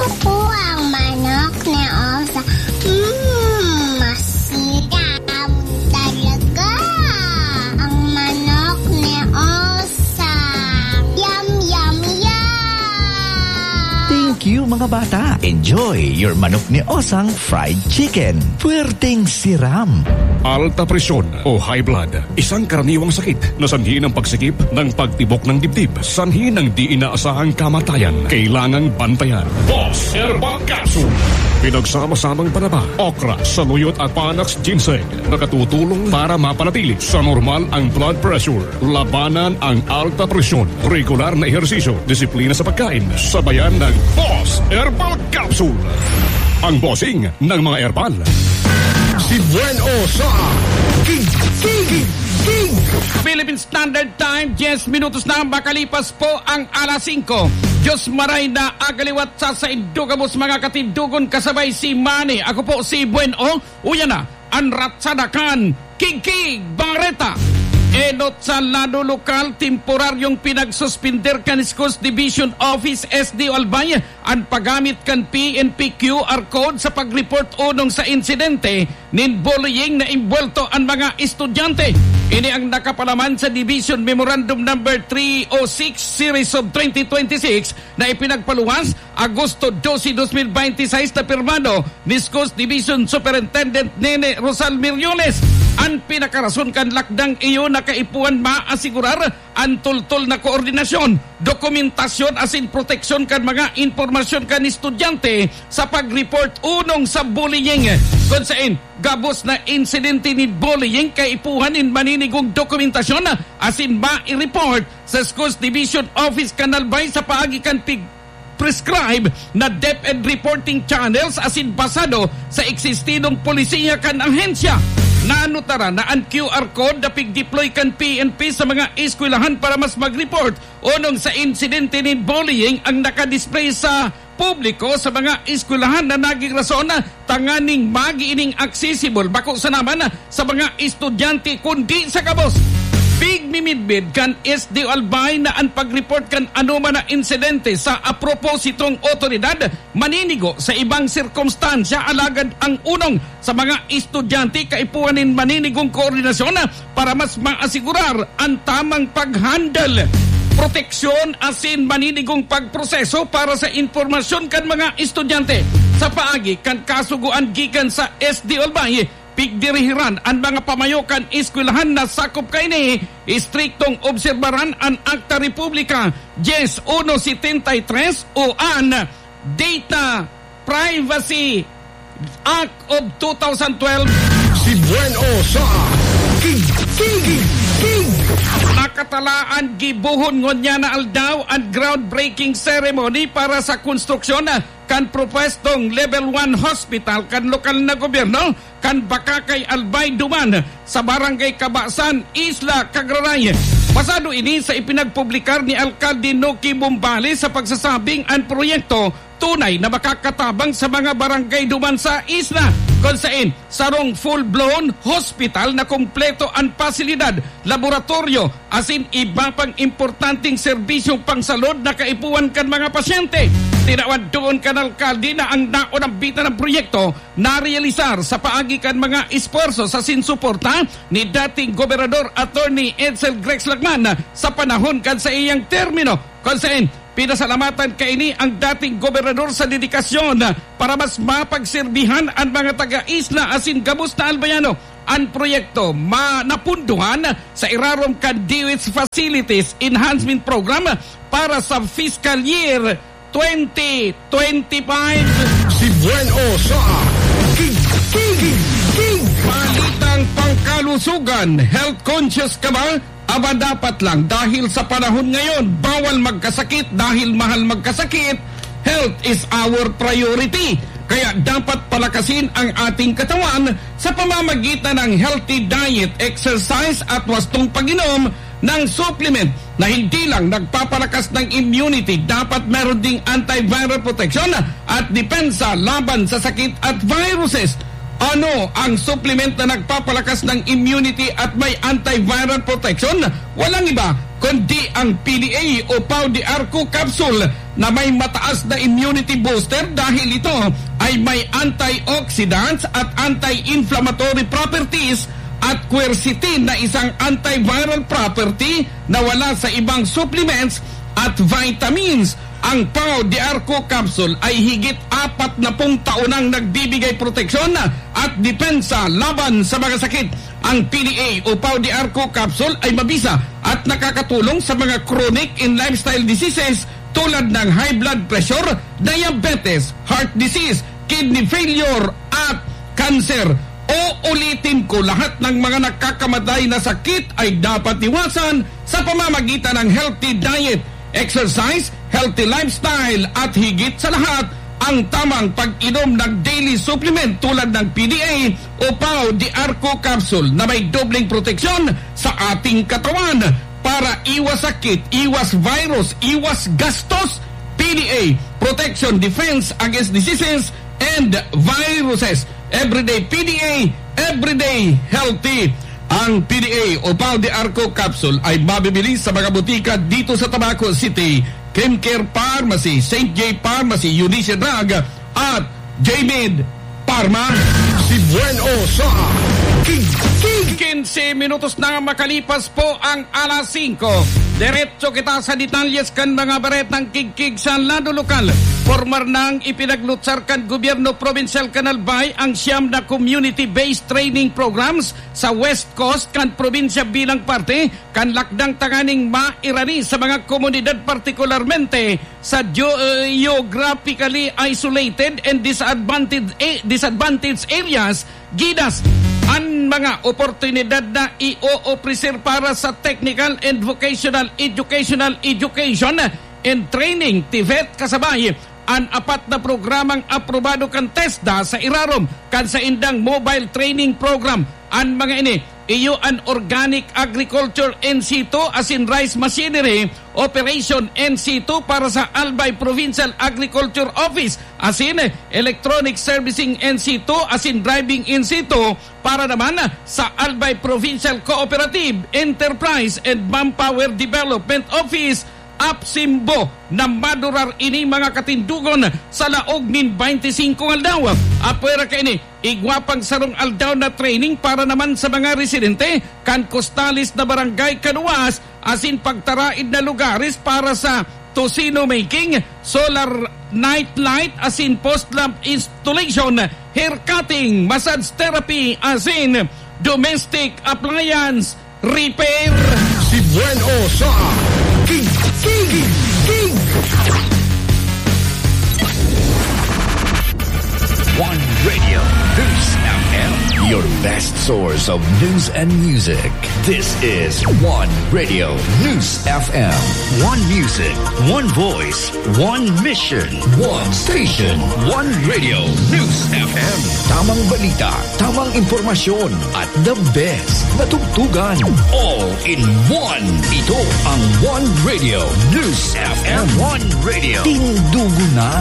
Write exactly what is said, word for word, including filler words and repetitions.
Ako ang manok ni Osa. Mm, masiram talaga ang manok ni Osa. Yum, yum, yum! Thank you, mga bata. Enjoy your manok ni Osang fried chicken. Puwerteng siram. Alta presyon o high blood, isang karaniwang sakit na sanhi ng pagsikip ng pagtibok ng dibdib, sanhi ng di inaasahang kamatayan. Kailangang bantayan. Boss Herbal Capsule. Pinagsama-samang panaba, okra, saluyot at panax ginseng. Nakatutulong para mapanatili sa normal ang blood pressure. Labanan ang alta presyon. Regular na ehersisyo, disiplina sa pagkain. Sabayan ng Boss Herbal Capsule. Ang bossing ng mga herbal. Si Buen O sa King, King, King, King. Philippine Standard Time, diyes minutos na makalipas po ang alas singko. Diyos maray na agaliwat sa saindo gabos mga katindogon kasabay si Manny. Ako po si Buen O. Uya na, an ratsada kan Kigkig Bareta. Enot sa lado lokal, temporaryong pinagsuspender kan Schools Division Office, S D O Albay, an paggamit kan P N P Q R code sa pag-report onong sa insidente nin bullying na imbwelto an mga estudyante. Ini ang nakapalaman sa Division Memorandum Number three oh six Series of twenty twenty-six na ipinagpaluwas Agosto dose, dos mil bente y seis, na pirmado ni Schools Division Superintendent Nene Rosal Miriones. An pinakarason kan lakdang iyo na kaipuhan maasigurar an tultol na koordinasyon, dokumentasyon asin proteksyon kan mga impormasyon kan estudyante sa pag-report onong sa bullying. Kun saen gabos na insidente nin bullying, kaipuhan nin maninigong dokumentasyon asin mai-report sa Schools Division Office kan Albay sa paagi kan pig-, prescribe na DepEd reporting channels asin basado sa eksistidong polisiya kan ahensya. Nanutara na an Q R code na pig-deploy kan P N P sa mga eskwelahan para mas mag-report onong sa insidente nin bullying ang nakadisplay sa publiko sa mga eskwelahan na naging rason tanganing magi ining accessible, bako sana man sa mga estudyante, kundi sa gabos. Pigmimidbid kan S D O Albay na an pag-report kan anoman na insidente sa apropositong otoridad maninigo sa ibang sirkumstansya, alagad ang onong sa mga estudyante kaipuhan nin maninigong koordinasyon para mas maasigurar an tamang pag-handle, proteksyon asin maninigong pagproseso para sa impormasyon kan mga estudyante. Sa paagi kan kasugoan gikan sa S D O Albay, pigdirihiran an mga pamayo kan eskwelahan na sakop kaini, istriktong obserbaran an Akta Republika diyes uno setenta y tres o an Data Privacy Act of two thousand twelve. Si Buen O sa King, King, King, King. Nakatalaan gibohon ngunyan na aldaw an groundbreaking ceremony para sa konstruksyon kan propwestong Level one Hospital kan lokal na gobyerno kan Bacacay Albay duman sa Barangay Cabasan, Isla Cagraray. Basado ini sa ipinagpublikar ni Alkalde Noki Bombales sa pagsasabing an proyekto tunay na makakatabang sa mga barangay duman sa isla, kun saen sarong full-blown hospital na kompleto an pasilidad, laboratoryo, asin iba pang importanteng serbisyong pangsalud na kaipuhan kan mga pasyente. Tinawan duon kan alkalde na ang naonambitan na proyekto narealisar sa paagi kan mga esfuerso asin suporta ni dating Gobernador Attorney Edsel Grex Lacman sa panahon kan saiyang termino, kun saen pinasalamatan kaini ang dating gobernador sa dedikasyon para mas mapagserbihan an mga taga-isla asin gabos na Albayano. An proyekto ma-, napundohan sa irarom kan DOH Facilities Enhancement Program para sa fiscal year twenty twenty-five. Si Buen O sa King, King, King. Balitang pangkalusugan, health conscious ka ba? Aba, dapat lang, dahil sa panahon ngayon, bawal magkasakit dahil mahal magkasakit. Health is our priority. Kaya dapat palakasin ang ating katawan sa pamamagitan ng healthy diet, exercise at wastong pag-inom ng supplement na hindi lang nagpapalakas ng immunity, dapat meron ding antiviral protection at depensa laban sa sakit at viruses. Ano ang supplement na nagpapalakas ng immunity at may antiviral protection? Walang iba kundi ang P D A o Pau de Arco capsule na may mataas na immunity booster dahil ito ay may antioxidants at anti-inflammatory properties at quercetin na isang antiviral property na wala sa ibang supplements at vitamins. Ang Pau de Arco capsule ay higit apat na pung taon nang nagbibigay proteksyon at depensa laban sa mga sakit. Ang P D A o Pau de Arco capsule ay mabisa at nakakatulong sa mga chronic and lifestyle diseases tulad ng high blood pressure, diabetes, heart disease, kidney failure, at cancer. Uulitin ko, lahat ng mga nakakamatay na sakit ay dapat iwasan sa pamamagitan ng healthy diet, exercise, healthy lifestyle, at higit sa lahat, ang tamang pag-inom ng daily supplement tulad ng P D A o Pau de Arco capsule na may dobleng proteksyon sa ating katawan para iwas sakit, iwas virus, iwas gastos. P D A, protection, defense against diseases and viruses. Everyday P D A, everyday healthy. Ang P D A o Pau de Arco capsule ay mabibili sa mga butika dito sa Tabaco City, Kimcare Pharmacy, Saint J Pharmacy, Eunice Drug, at J-Med Pharma. Si Buen O sa Kig Kig. Quince minutos na makalipas po ang alas singko. Diretso kita sa detalyes kan mga baretang kigkig sa lado lokal. Pormal nang ipinaglutsar kan gobyerno probinsyal kan Albay ang siyam na community-based training programs sa West Coast kan probinsya bilang parte kan lakdang tanganing mairani sa mga komunidad, partikularmente sa geo-, geographically isolated and disadvantaged, eh, disadvantaged areas, gidas an mga oportunidad na i-o-ofrecer para sa technical and vocational educational education and training, TVET, kasabay an apat na programang aprobado kan TESDA sa irarom kan saindang mobile training program. An mga ini, iyo an organic agriculture in situ asin rice machinery operation in situ para sa Albay Provincial Agriculture Office, asin electronic servicing in situ asin driving in situ para naman sa Albay Provincial Cooperative, Enterprise and Manpower Development Office, APSIMBO, na madurar ini mga katindogon sa laog nin baynte singko nga aldaw. Apwera kaini, igwa pang sarong aldaw na training para naman sa mga residente kan costales na barangay kanuwas asin pagtaraid na lugares para sa tocino making, solar night light asin post lamp installation, hair cutting, massage therapy asin domestic appliance repair. Si Buen O sa Kig Kig Kig. One Radio News F M, your best source of news and music. This is One Radio News F M. One music, one voice, one mission, one station. One Radio News F M. Tamang balita, tamang impormasyon, at the best na tugtugan. All in one. Ito ang One Radio News F M. One Radio. Tindugo na.